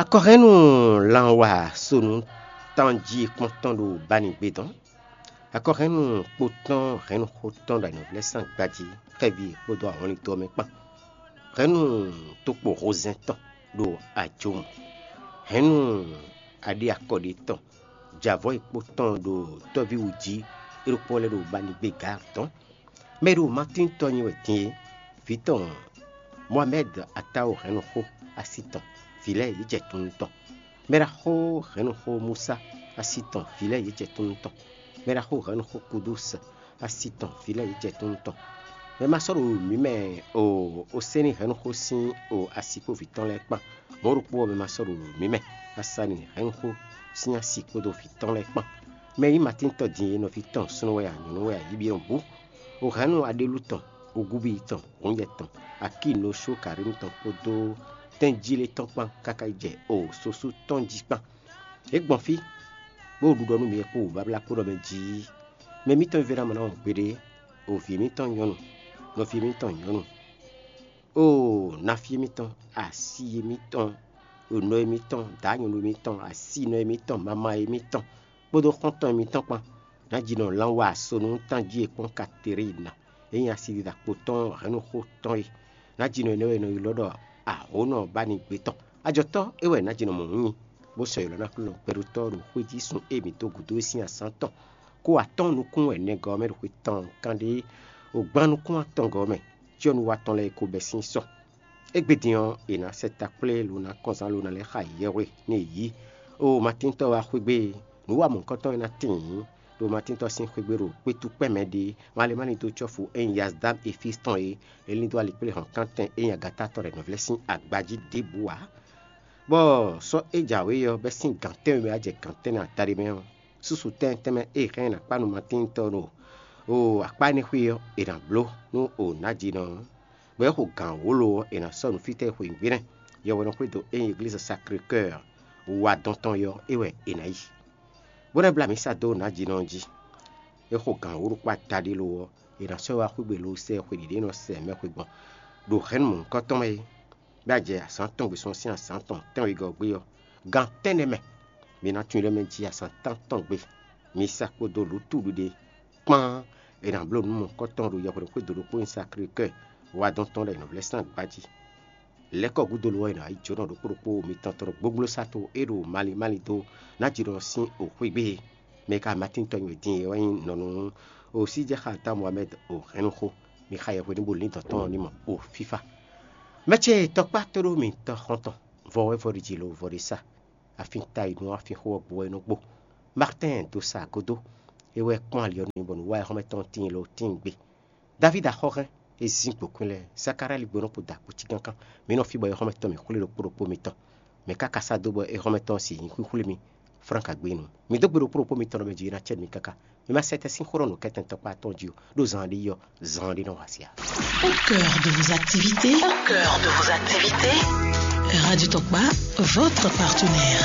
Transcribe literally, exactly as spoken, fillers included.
Akɔhɛnnu lanwa sonu tánjí kpɔ́ntɔn ɖo bánigbe dɔn. Akɔhɛnnu kpotɔn hɛnnuxotɔn ɖo anyɔ̌vlɛ́ sín agbají, xɛví kpódó ahɔnlin tɔn mɛ kpán. Hɛnnu tokpo hozɛn tɔn ɖo ajomu. Hɛnnu aɖi akɔɖi tɔn, javɔ́ e kpotɔn ɖo tɔ́ví wú jí, é ɖokpó lɛ́ɛ ɖo bánigbe gǎ tɔn. Mɛ e ɖo Matín tɔn nyi wɛ din é, vǐ tɔn Mohamɛ́d Atáwo hɛnnuxó asi tɔn, vǐ lɛ́ɛ yě jɛ tunwun tɔn. Mɛɖaxó hɛnnuxó Musa asi tɔn, vǐ lɛ́ɛ yě jɛ tunwun tɔn. Mɛɖaxó hɛnnuxó Kudus asi tɔn, vǐ lɛ́ɛ yě jɛ tunwun tɔn. Mɛ ma sɔ́ ɖo mǐ mɛ o, Oséni hɛnnuxó sín o asi kpó vǐ tɔn lɛ́ɛ kpán. Mɔ̌ ɖokpó ɔ́, mɛ ma sɔ́ ɖo mǐ mɛ Asani hɛnnuxó sín asi kpódó vǐ tɔn lɛ́ɛ kpán. Mɛ e nyí Matín tɔn din é, nɔví tɔn súnnu wɛ a, nyɔ̌nu wɛ a, yíbí tɔn bǔ. O hɛ̌nnu aɖélú tɔn, ogúbíyi tɔn, hǔnyɛ tɔn, akínosókarínu tɔn kpódó tɛ́njílé tɔn kpán káká yi jɛ o sosú tɔn jí kpán. É gbɔn fí, bó ɖu ɖɔ nú mi kpó wǔbáblá kpó ɖɔ mɛ jí: Mɛ mǐtɔn e vé ná mɔ ná wɔn gbeɖé, o vǐ mǐtɔn nyɔ́nu, nɔví mǐtɔn nyɔ̌nu, o naví mǐtɔn, asi mǐtɔn, o nɔ mǐtɔn, dǎ nyɔ̌nu mǐtɔn, asinɔ mǐtɔn, mama mǐtɔn, kpódó xɔ́ntɔn mǐtɔn kpán. Nǎjínɔ lánwa sonu tán jí e kpɔ́n Katerína, e nyí asidida kpotɔ́ hɛ̌nnuxó tɔn é. Nǎjínɔ énɛ́ wɛ è nɔ ylɔ́ ɖɔ ahǒnɔ bánigbe tɔn. Ajɔ̌tɔ́ é wɛ nǎjínɔ mɔ̌ nyi, bó sɔ́ ylɔ́ ná Aklúnɔ gbɛɖótɔ́ ɖo xwé jí sun e mǐ dó gǔdo é sín azǎn tɔn. Kó atɔ́ɔ́n nukún wɛ nɛgɔ́ ɔ́ mɛ ɖo xwe tɔn kanɖé, o gbán nukún atɔngɔ́ ɔ́ mɛ, cyɔ́núwa tɔn lɛ́ɛ ko bɛ́ sín sɔ. Égbé din ɔ́, è nǎ sɛ takplé lo ná kɔnzán lo ná lɛ́ xa yɛhwe nú yě yí. Oo, Matíntɔ́ wá xwé gbe, nǔ wa mɔ̌hunkɔtɔn e ná tíin ɖo Matíntɔ́ sín xwé gbe ɖo kpétú kpɛ́ mɛ ɖé, malé má ní dó cɔ́fu e nyí Yazdám Efísi tɔn é, é lín dó alikpléhɔ̌nkántɛn e nyí agata tɔn ɖɛ nɔvlɛ́ sín agba jí ɖěbǔ ǎ. Bɔ sɔ́ e jǎwe ɔ́ bɛ́ sín gǎn tɛ́nwe mɛ wá jɛ gǎn tɛ́nnɛ adaɖé mɛ ɔ́, súsu tɛ́n tɛ́nmɛ e hɛn ná kpá nú Matíntɔ́ ɖo o akpá énɛ́ xwé ɔ́, è nǎ bló nú o nǎjínɔ ɔ́. Bɔ é xo gǎn wǒ lo ɔ́, è nǎ sɔ́ nǔ fítɛ́ e xweyǐgbe nɛ́. Yɔhwɛ́nɔ xwé dó ényí eglíza Sakré-Kɔ́ɔ wú wá dɔn tɔn é ɔ́, é wɛ è nǎ yi. Bó ná blá mǐsa dó nǎjínɔ ɔ́ jí. É xo gǎn wǒ ɖokpó adaɖé lo ɔ́, è nǎ sɔ́ ɛ wá xwé gbe lo sɛ xwe ɖě nɔ sɛ mɛxwe gbɔn ɖo hɛ̌nnu mɔ̌hunkɔtɔn mɛ é. Bɔ é jɛ azǎn tɔn gbe sɔ́ sín azǎn tɔn tɛ́nwegɔ́ ɔ́ gbé ɔ́, gan tɛ́nnɛ mɛ, mi ná tunwun ɖɔ mɛ jí azǎn tántɔn gbe. Mi sa kpódó lǔtúɖuɖe kpán è nǎ bló nǔ mɔ̌hunkɔtɔn ɖo yɛhweɖěxwé do ɖokpó nyi Sakré-Kɔ́ɔ wa dɔn tɔn ɖo ayǐnɔvlɛ́ sín agba jí. Lɛ̌kɔ gúdo lo ɔ́, è nǎ yi jǒnɔ ɖokpó ɖokpó mitɔn tɔn ɖo gbógblosáto e ɖo malín malín dó ná jǐ ɖɔ sín oxwé gbé e. Mɛ e ka Matín tɔn nyi wɛ din é wɛ nyí nɔnu Osíjɛxata Mohamɛ́d o hɛnnuxó. Mi xa yɛhweɖín bo lín dɔ̌n tɔn ɔ́ ní mɔ o fífá. Mɛ ce tɔkpá tóɖó mitɔ́ xɔ́ntɔn, vɔ wɛ vɔ ɖi jǐ lo vɔ ɖi sa. Afin ta yi nú afin xó ɔ́ gbo wɛ é nɔ gbo. Martɛ́n dó sa gúdo, é wɛ kpɔ́n ali ɔ́ nú bɔ nǔ wa ɛ xɔ́mɛ tɔn tíin lo tíin gbe. Davídi axɔ́hɛn e zín gbǒkwín lɛ́ɛ, Zakalali gbónɔ kpo da kpo cí kánkán. Mi nɔ fí bɔ é xɔ́mɛ tɔn mǐ xwlé ɖokpó ɖokpó mitɔn. Mɛ káká sá dó bɔ é xɔ́mɛ tɔn ɔ́ sin nyǐ xwíxwlé mi. Flán ka gbé nu. Mi dó gbe ɖokpó ɖokpó mitɔn ɖɔ mɛ jí ná cɛ́ mi káká. Mi ma sɛ tɛ́ sín xó ɖɔ nǔkɛntɛn tɔkpá atɔn jí o, ɖó zan ɖé yi ɔ́, zan ɖé nɔ wa sia. Au cœur de vos activités, au cœur de vos activités, Radio Tokpa, votre partenaire.